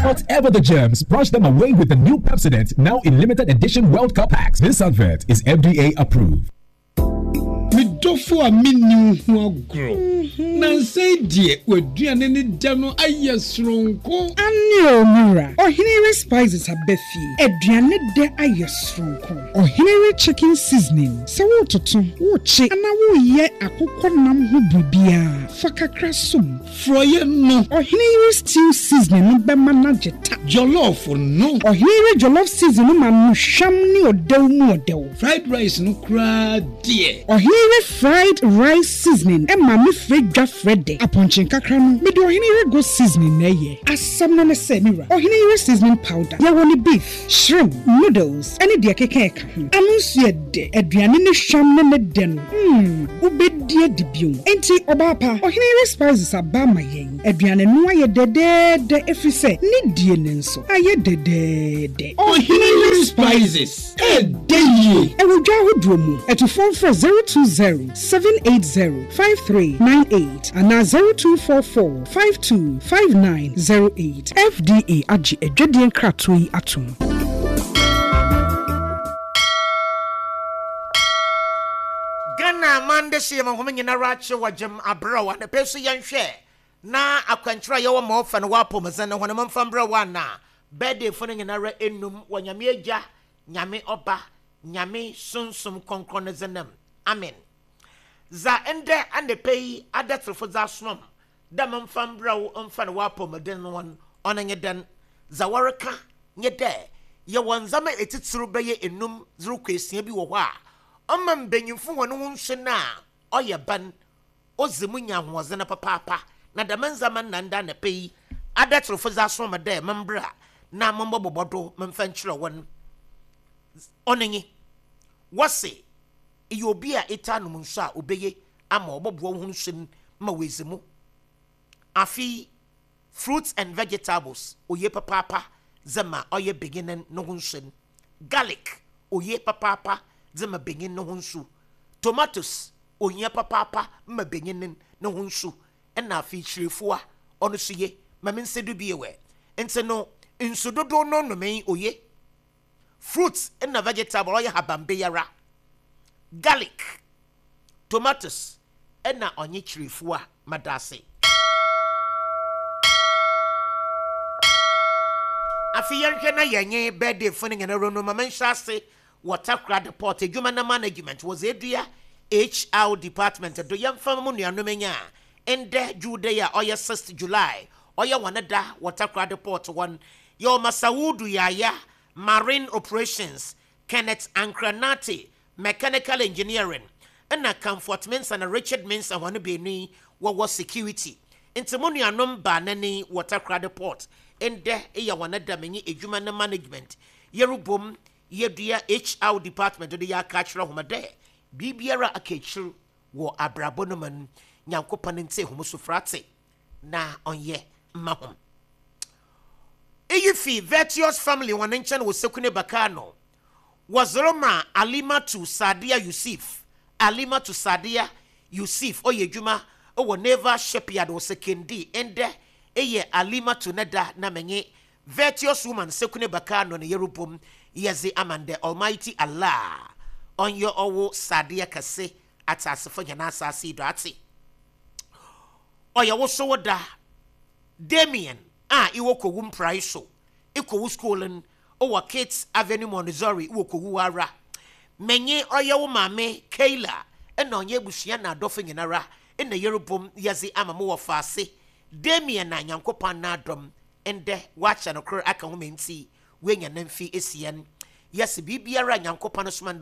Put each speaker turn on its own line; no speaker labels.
Whatever the germs, brush them away with the new Pepsodent, now in limited edition World Cup packs. This advert is FDA approved.
Me dɔfo a menni wo ho agorɔ. Nnansa yi deɛ w'aduane ne dɛ no ayɛ soronko.
Aane o me wura, Ɔhene Yere Spices aba fie, aduane dɛ ayɛ soronko. Ɔhene Yere Chicken Seasoning, sɛ woretoto, worekye anaa woreyɛ akokɔ nam ho biribiara a, fa kakra som.
Frɔeɛ no.
Ɔhene Yere Stew Seasoning no bɛma no agye ta.
Jollof no.
Ɔhene Yere Jollof Seasoning no ma no hwam ne ɔdɛw mu ɔdɛw.
Fried rice no koraa deɛ.
Ɔhene Yere Fried Rice Seasoning ma me frɛ dwa frɛ dɛ. Apɔnkye nkakra no, mede Ɔhene Yere Goat Seasoning na ɛyɛ. Asɛm no ne sɛ, me wura, Ɔhene Yere Seasoning Powder, yɛwɔ no beef, Shrimp, noodles ne deɛ ɛkeka ɛka ho. Ano nso yɛ dɛ. Aduane no hwam ne ne dɛ no, mm, wobɛdi adi bio. Enti ɔbaa pa, Ɔhene yere spices aba ama yɛn. Aduane no ayɛ dɛdɛɛdɛ ɛfiri sɛ ne die no nso ayɛ dɛdɛɛdɛ.
Ɔhene yere spices, ɛɛdɛ yie.
Ɛwɔ dwa ahodoɔ mu. Atufoɔ mfrɛ 020 780 5398 anaa 0244 52 5908. FDA agye adwadie nkratoɔ yi atom.
Ghana aman dehye yɛ hom nyinara akye wɔ gyem aberɛw anapa yi so yɛnhwɛ na akwankyerɛ a yɛwɔ ma ɔfa no wɔ apɔwmudzen no hɔn momfa mbrɛ wɔ ana birthday fo no nyinara enum wɔ Nyame Egya, Nyame Ɔba, Nyame Sunsum Krɔnkrɔn ne dzin mu, amen. Dza ndɛ anapa yi adatserfo dze asoma m' dɛ memfa mbrɛ wo mfa no w'apɔwmuden no hɔn, ɔno nye dɛn? Dza wɔrekã nye dɛ yɛwɔ ndzɛmba etsitsir bɛyɛ enum dze rokɔ esia bi wɔ hɔ a ɔma mbanyimfo hɔn ho nsu no a ɔyɛ ban, odzi mu nya ahoɔdzen papaapa, na dɛm ndzɛmba no na ndɛ anapa yi adatserfo dze asoma me dɛ membra na mombɔbobɔ do memfa nkyerɛ hɔn. Ɔno nye, wɔse eyɛ obi a etaa nom nsu a obeye ama ɔbɔboa wo ho nsu no ma oedzi mu. Afei fruits and vegetables oye papaapa dze ma ɔyɛ banyin no ho nsu no. Garlic oye papaapa dze ma banyin no ho nsu. Tomatoes ohia papaapa ma banyin no ho nsu. Nna afei kyirefuwa ɔno so ye ma me nsa do bio ɛ. Ntsi no nsu dodow no nomee oye. Fruits na vegetable ɔyɛ haban biara, garlic, tomatoes na ɔnye kyirefua. Medase. Afei yɛnhwɛ na yɛnye birthday fo no nyina ronu ma menhyɛ ase wɔ Takoradi Port edwuma na management wɔdze edua HR department do yɛmfa mo nuanom nya ndɛ dwuwda yi a ɔyɛ sixth July ɔyɛ hɔn da wɔ Takoradi Port hɔn Yɛwɔ Masawudu Yaya, Marine Operations, Kenneth Ankrah-Nartey, Mechanical Engineering, nna Comfort Mensah na Richard Mensah hɔn beenu yi wɔwɔ Security. Ntsi mo nuanom baanan yi wɔ Takoradi Port ndɛ eyɛ hɔn da menye edwuma no management yerobɔ mu yedua HR department do yɛaka akyerɛ hom dɛ biribiara a aka ekyir wɔ abrabɔ no mu no Nyankopɔn ntsie hom sufrɛ na ɔnyɛ mma hom. Iyi fi Virtuous Family hɔn nkyɛn wɔ Sekune Bakano. Wɔdze rema Alimatu Sadiya Yusif. Alimatu Sadiya Yusif ɔyɛ edwuma wɔ Naval Shipyard wɔ Sekondi. Ndɛ eyɛ Alimatu ne da na menye Virtuous Woman Sekune Bakano na yerobɔ mu yɛdze ama ndɛ. Almighty Allah ɔnyɛ ɔwo Sadiya kɛse atseasefo hɛn asaase yi do atse. Ɔyɛ wo so wo da. Damien a ewɔ Kowu mprae so, ekɔ wo skuul n' wɔ Kitts Avenue Montessori wɔ Kowu ara. Menye ɔyɛ wo maame Kayla na ɔnye ebusua na adɔfo nyinara na yerobɔ mu yɛdze ama mo wɔfaase Damien a Nyankopɔn n'adom ndɛ ɔakyɛ no kor aka ho ma ntsi oenya ne mfe esia n'. Yɛse biribiara a Nyankopɔn soma no dɛ.